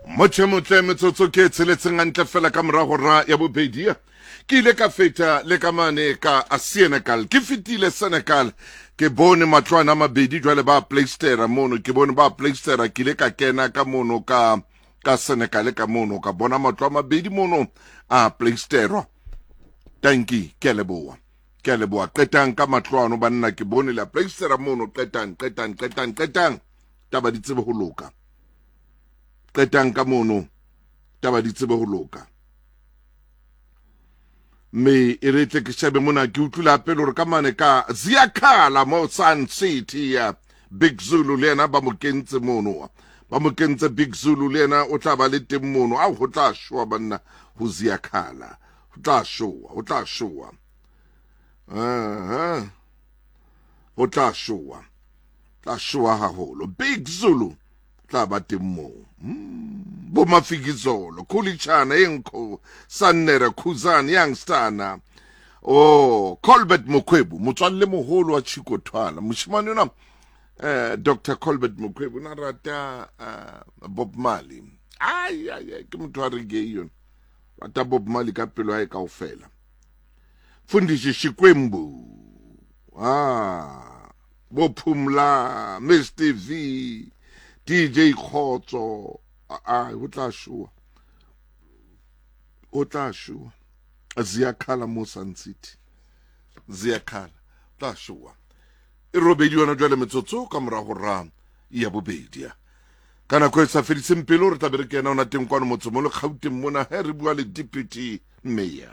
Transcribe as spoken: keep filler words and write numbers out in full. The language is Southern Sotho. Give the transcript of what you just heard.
Motjhe motle metsotso ke e tsheletseng hantle fela ka mora hora ya bobedi. Ke ile ka feta le ka mane ka Senegal. Ke fetile Senegal, ke bone matlwana a mabedi jwale ba playstera mono, ke bone ba playstera. Ke ile ka kena ka mono ka ka Senegal ka mono, ka bona matlo a mabedi mono a playsterwa. Tanki, ke a leboha, ke a leboha. Qetang ka matlo ano banna, ke bone la playstera mono. Qetang, qetang, qetang, qetang, taba di tsebe ho loka. Qetang ka mono, taba di tsebe ho loka. Mme e re tle ke shebe mona, ke utlwile hape le hore ka mane ka Ziyakhala mo Sun City ya Big Zulu le yena ba mo kentse mono, ba mo kentse. Big Zulu le yena o tla ba le teng mono. Ao, ho tla shoa banna ho Ziyakhala, ho tla shoa, ho tla shoa, aha, ho tla shoa, tla shoa haholo. Big Zulu tla ba teng moo. mm. Bo Mafikizolo, Khulichana, Enko Sannere, Khuzan Youngstana, oh, Colbert Mokhwebu, motswalle moholo wa Chico Thwala, moshimane ona, eh Doctor Colbert Mokhwebu na rata uh, Bob Marley. Ai ai ai, ke motho wa reggae yona, rata Bob Marley ka pelo ya hae kaofela. Fundisi Shikwembu, ah, bo Phumla, Mister V, D J Khotso, a ho tla shoa, ho tla shoa Ziyakhala mo Sun City, Ziyakhala tla shoa. E robedi yona jwale metsotso ka mora hora ya bobedi. Ka nako e sa fediseng pelo re tla be re kena ona teng kwano motse mo le Gauteng mona, he re bua le deputy mayor.